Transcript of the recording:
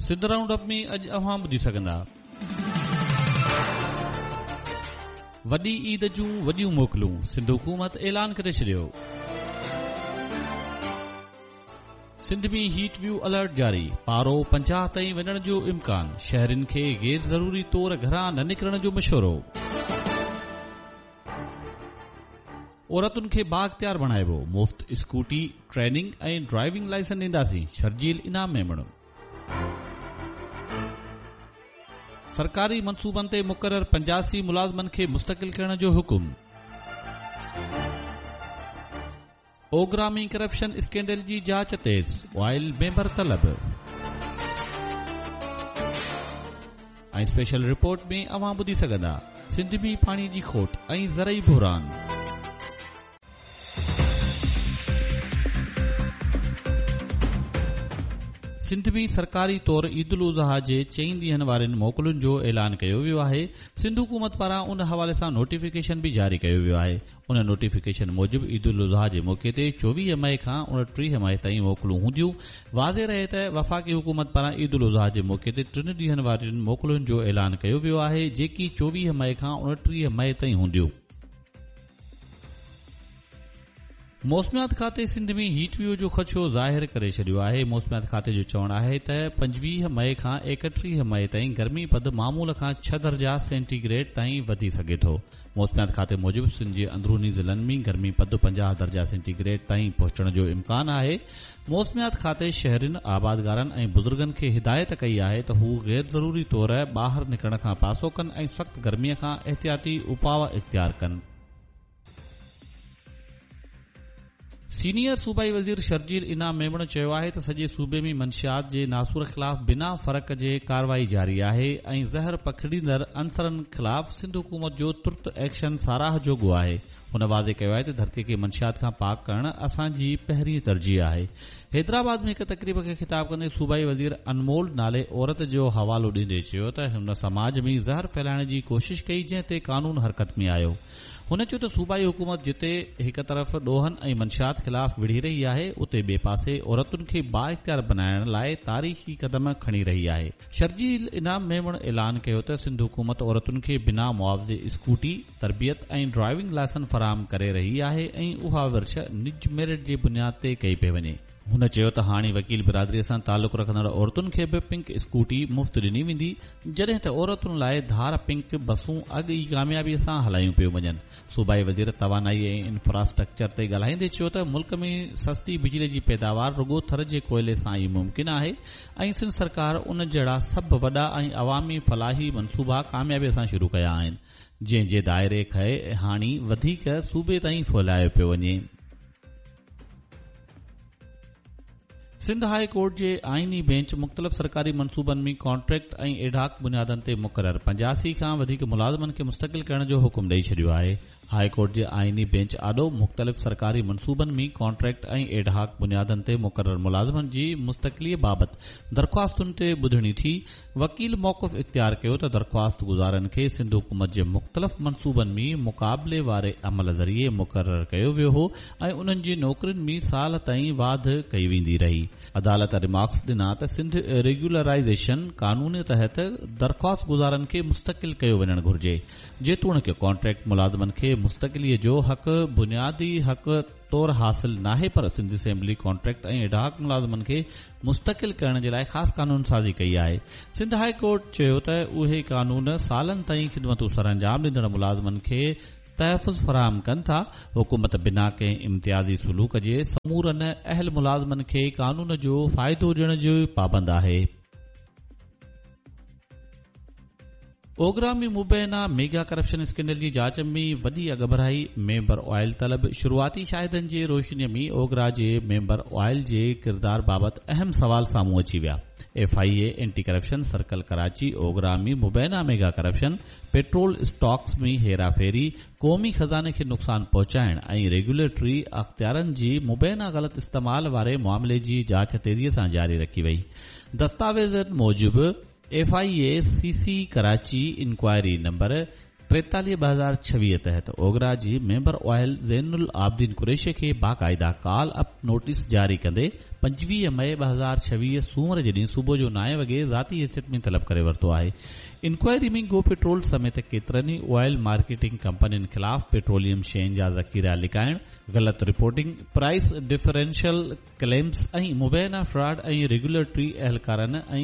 Sindh round up ۾ اڄ اوهان ٻڌي سگهندا. وڏي عيد جون وڏيون موڪلون، سنڌ حڪومت اعلان ڪري ڇڏيو. سنڌ ۾ هيٽ ويو الرٽ جاري، پارو 50 تائين وڃڻ جو امڪان، شهرين کي غير ضروري طور گهران نه نڪرڻ جو مشورو. عورتن کي بااختيار بڻائبو، مفت اسڪوٽي، ٽريننگ ۽ ڊرائيونگ لائسنس ڏينداسين، شرجيل انعام ميمڻ. سرڪاري منصوبن تي مقرر 85 ملازمن کي مستقل ڪرڻ جو حڪم. اوگرا ۾ ڪرپشن اسڪينڊل جي جاچ تيز، آئل ميمبر طلب. ۽ اسپيشل رپورٽ ۾ اوهان ٻڌي سگهندا سنڌ ۾ پاڻي جي کوٽ ۽ زرعي بحران. سنڌ ۾ سرڪاري طور عيد الاضحيٰ جي چئن ڏينهن وارين موڪلن جو اعلان ڪيو ويو آهي. سنڌ حڪومت پاران ان حوالي سان نوٽيفڪيشن به جاري ڪيو ويو آهي. ان نوٽيفڪيشن موجب عيد الاضحيٰ جي موقعي تي 24 مئي کان 29 مئي تائين موڪلون هونديون. واضح رهي ته وفاقي حڪومت پاران عيد الاضحيٰ جي موقعي تي ٽن ڏينهن وارين موڪلن جو اعلان ڪيو ويو آهي، جيڪي 24 مئي کان 29 مئي تائين هونديون. موسميات کاتي سنڌ ۾ هيٽ ويو جو خدشو ظاهر ڪري ڇڏيو آهي. موسميات کاتي جو چوڻ آهي ته 25 مئي کان 31 مئي تائين گرمي پد معمول کان 6 درجا سينٽي گريڊ تائين وڌي سگهي ٿو. موسميات کاتي موجب سنڌ جي اندروني ضلعن ۾ گرمي پد 50 درجا سينٽي گريڊ تائين پهچڻ جو امڪان آهي. موسميات کاتي شهرين، آبادگارن ۽ بزرگن کي هدايت ڪئي آهي ته هو غير ضروري طور ٻاهر نڪرڻ کان پاسو ڪن ۽ سخت گرمي کان احتياطي اپاء اختيار ڪن. سينيئر صوبائي وزير شرجيل انعام ميمڻ چيو آهي ته سڄي صوبي ۾ منشيات جي ناسور خلاف بنا فرق جي ڪارروائي جاري آهي ۽ زهر پکڙيندڙ عنصرن خلاف سنڌ حڪومت جو ترت ايڪشن ساراهه جوڳو آهي. هن واضح ڪيو آهي ته ڌرتي کي منشيات کان پاڪ ڪرڻ اسان جي پهرين ترجيح آهي. حيدرآباد ۾ هڪ تقريب کي خطاب ڪندي صوبائي وزير انمول نالي عورت جو حوالو ڏيندي چيو ته هن سماج ۾ زهر ڦهلائڻ جي ڪوشش ڪئي جنهن تي قانون حرڪت ۾ آيو. هن چيو ته صوبائي حڪومت جتي هڪ طرف ڏوهن ۽ منشيات خلاف وڙهي رهي آهي اتي ٻئي پاسي عورتن کي بااختيار بنائڻ لاء تاريخي قدم کڻي رهي آهي. شرجيل انعام ميمڻ اعلان ڪيو ته سنڌ حڪومت عورتن کي بنا معاوضي اسڪوٽي، تربيت ۽ ڊرائيونگ لائسن فراهم ڪري رهي آهي ۽ اها ورڇ نج ميرٽ جي بنياد تي ڪئي پئي وڃي. هن چيو ته هاڻي وڪيل برادري سان تعلق رکندڙ عورتن کي به پنڪ اسڪوٽي مفت ڏني ويندي، جڏهن ته عورتن لاء ڌار پنڪ بسون اڳ ئي ڪاميابي سان هلايون پيون وڃن. صوبائي وزير توانائي ۽ انفراسٽرڪچر تي ڳالهائيندي چيو ته ملڪ ۾ سستي بجلي جي پيداوار رڳو ٿر جي ڪوئلي سان ئي ممڪن آهي ۽ سنڌ سرڪار ان جهڙا سڀ وڏا ۽ عوامي فلاحي منصوبا ڪاميابي سان شروع ڪيا آهن، جنهن جي دائري کي هاڻي وڌيڪ صوبي تائين ڦهلايو پيو وڃي. سنڌ هاء ڪورٽ جي آئيني بينچ مختلف سرڪاري منصوبن ۾ ڪانٽريڪٽ ۽ ايڊهاڪ بنيادن تي مقرر 85 کان وڌيڪ ملازمن کي مستقل ڪرڻ جو حڪم ڏئي ڇڏيو آهي. هاء ڪورٽ جي آئيني بينچ آڏو مختلف سرڪاري منصوبن ۾ ڪانٽريڪٽ ۽ ايڊهاڪ بنيادن تي مقرر ملازمن جي مستقلي بابت درخواستن تي ٻڌڻي ٿي. وڪيل موقف اختيار ڪيو ته درخواست گذارن کي سنڌ حڪومت جي مختلف منصوبن ۾ مقابلي واري عمل ذريعي مقرر ڪيو ويو هو ۽ انهن جي نوڪرين ۾ سال تائين واڌ ڪئي ويندي رهي. عدالت ريمارڪس ڏنا ته سنڌ ريگيولرائيزيشن قانون تحت درخواست گذارن کي مستقل ڪيو وڃڻ گهرجي، جيتوڻيڪ ڪانٽريڪٽ ملازمن کي مستقلي جو حق بنيادي حق طور حاصل ناهي پر سنڌ اسيمبلي ڪانٽريڪٽ ۽ ايڊهاڪ ملازمن کي مستقل ڪرڻ جي لاء خاص قانون سازي ڪئي آهي. سنڌ هاء ڪورٽ چيو ته اهي قانون سالن تائين خدمتون سرانجام ڏيندڙ ملازمن کي تحفظ فراهم ڪن ٿا، حڪومت بنا ڪنهن امتيازي سلوڪ جي سمورن اهل ملازمن کي قانون جو فائدو ڏيڻ جي پابند آهي. اوگرا ۾ مبينا ميگا ڪرپشن اسڪينڊل جي جاچ ۾ وڏي اڳڀرائي، ميمبر آئل طلب، شروعاتي شاهدن جي روشني ۾ اوگرا جي ميمبر آئل جي ڪردار بابت اهم سوال سامهون اچي ويا. F I A anti corruption circle Karachi OGRA ۾ مبينا ميگا ڪرپشن، پيٽرول اسٽاڪس ۾ هيراڦيري، قومي خزاني کي نقصان پهچائڻ ۽ ريگيوليٽري اختيارن جي مبينا غلط استعمال واري معاملي جي جاچ تيزي سان جاري رکي وئي. دستاويزن موجب F I A C C Karachi inquiry number 43 2026 تحت اوگرا جي ميمبر آئل زين العابدين قريشي کي باقاعده ڪال اپ نوٽيس جاري ڪندي 25 مئي 2026 سومر جي ڏينهن صبح جو نائين وڳي ذاتي حيثيت ۾ طلب ڪري ورتو آهي. انڪوائري ۾ گو پيٽرول سميت ڪيترن ئي آئل مارڪيٽنگ ڪمپنين خلاف پيٽروليم شين جا ذخيرا لڪائڻ، غلط رپورٽنگ، پرائس ڊفرينشل ڪليمز ۽ مبينا فراڊ ۽ ريگيوليٽري اهلڪارن ۽